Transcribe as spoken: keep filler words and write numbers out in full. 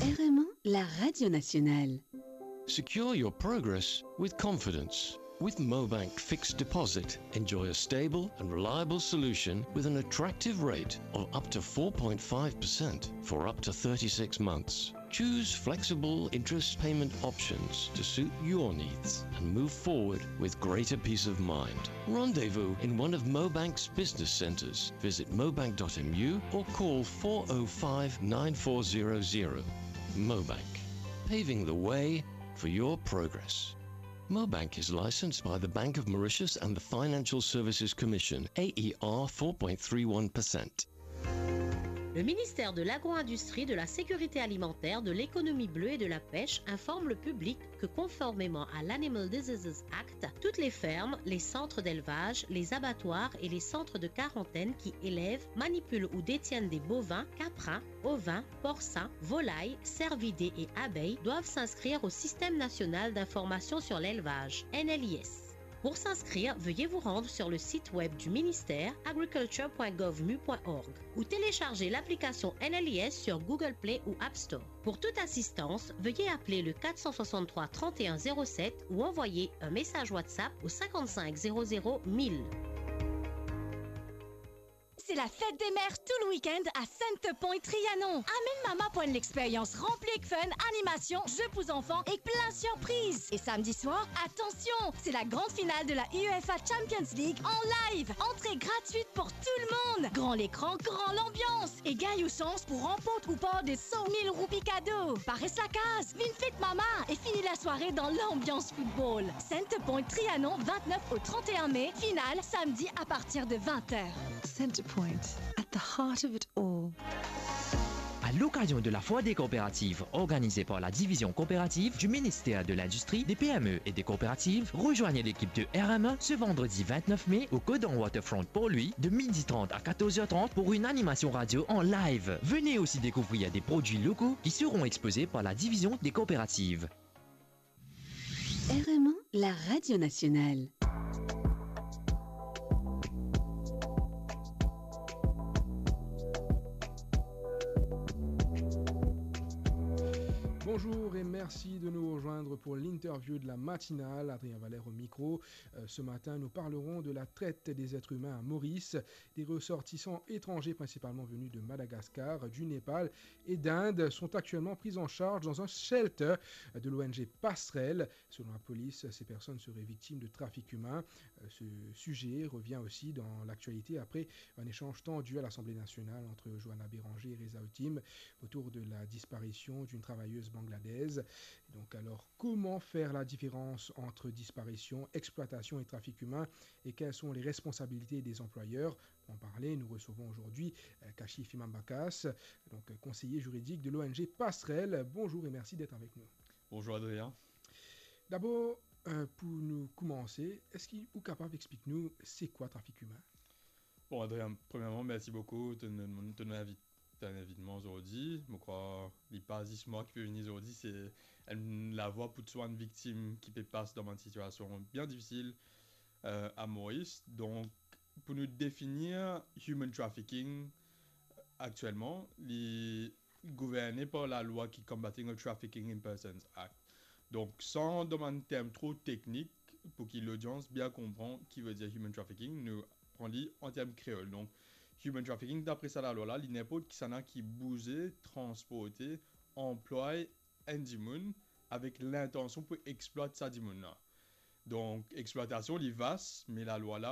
R M un, la radio nationale. Secure your progress with confidence. With Mobank Fixed Deposit, enjoy a stable and reliable solution with an attractive rate of up to four point five percent for up to thirty-six months. Choose flexible interest payment options to suit your needs and move forward with greater peace of mind. Rendezvous in one of Mobank's business centres. Visit mobank dot M U or call four oh five nine four zero zero. Mobank, paving the way for your progress. Mobank is licensed by the Bank of Mauritius and the Financial Services Commission, A E R four point three one percent. Le ministère de l'Agro-industrie, de la Sécurité alimentaire, de l'Économie bleue et de la Pêche informe le public que, conformément à l'Animal Diseases Act, toutes les fermes, les centres d'élevage, les abattoirs et les centres de quarantaine qui élèvent, manipulent ou détiennent des bovins, caprins, ovins, porcins, volailles, cervidés et abeilles doivent s'inscrire au Système national d'information sur l'élevage, N L I S. Pour s'inscrire, veuillez vous rendre sur le site web du ministère, agriculture point gouv mu point org, ou télécharger l'application N L I S sur Google Play ou App Store. Pour toute assistance, veuillez appeler le quatre cent soixante-trois trente et un zéro sept ou envoyer un message WhatsApp au cinquante-cinq zéro zéro mille. C'est la fête des mères tout le week-end à Centrepoint Trianon. Amenn mama pou enn lexperyans ranpli ek fun, animasion, ze pou zanfan ek plin sirpriz. E samdi swar, atansion, c'est la grande finale de la UEFA Champions League en live. Entrée gratuite pour tout le monde. Gran lekran, gran lanbians. E gagn ou sans pou ranport ou par de cent mille roupi kado. Pa res lakaz, vinn fet mama e fini lasware dan lanbians football. Centrepoint Trianon, vingt-neuf au trente et un mai, finale samedi à partir de vingt heures. Centrepoint, at the heart of it all. À l'occasion de la Foire des coopératives organisée par la division coopérative du ministère de l'Industrie, des P M E et des coopératives, rejoignez l'équipe de R M un ce vendredi vingt-neuf mai au Codan Waterfront Port-Louis de midi trente à quatorze heures trente pour une animation radio en live. Venez aussi découvrir des produits locaux qui seront exposés par la division des coopératives. R M un, la radio nationale. Bonjour et merci de nous rejoindre pour l'interview de la matinale. Adrien Valère au micro. Euh, ce matin, nous parlerons de la traite des êtres humains à Maurice. Des ressortissants étrangers, principalement venus de Madagascar, du Népal et d'Inde, sont actuellement pris en charge dans un shelter de l'O N G Passerelle. Selon la police, ces personnes seraient victimes de trafic humain. Euh, ce sujet revient aussi dans l'actualité après un échange tendu à l'Assemblée nationale entre Johanna Béranger et Reza Otim autour de la disparition d'une travailleuse bangladaise. Donc alors, comment faire la différence entre disparition, exploitation et trafic humain, et quelles sont les responsabilités des employeurs ? Pour en parler, nous recevons aujourd'hui, euh, Kashif Imam Bakas, donc, euh, conseiller juridique de l'O N G Passerelle. Bonjour et merci d'être avec nous. Bonjour Adrien. Dabor, euh, pou nou koumanse, eski ou kapav explik nou se kwa trafik imin? Bon, Adrien, premièrement, merci beaucoup de, de, de m'inviter to invitman zordi. Mo krwar li pa zis mwa ki pe vini zordi, se enn lavwa pou tou bann viktim ki pe pas dan bann sitiasion bien difisil, euh, a Moris. Donk, pou nou definir human trafficking, aktielman, li gouverne par lalwa ki Combating of Trafficking in Persons Act. Donk, san dan bann term tro teknik, pou ki lodians bien konpran ki vedir human trafficking, nou pran li an term kreol. Donk, human trafficking, dapre sa lalwa la, li ninport kisannla ki bouze, transporte, anplway enn dimoun avek lintansion pou explwat sa dimoun la. Donk, explwatasion, li vas, me lalwa la,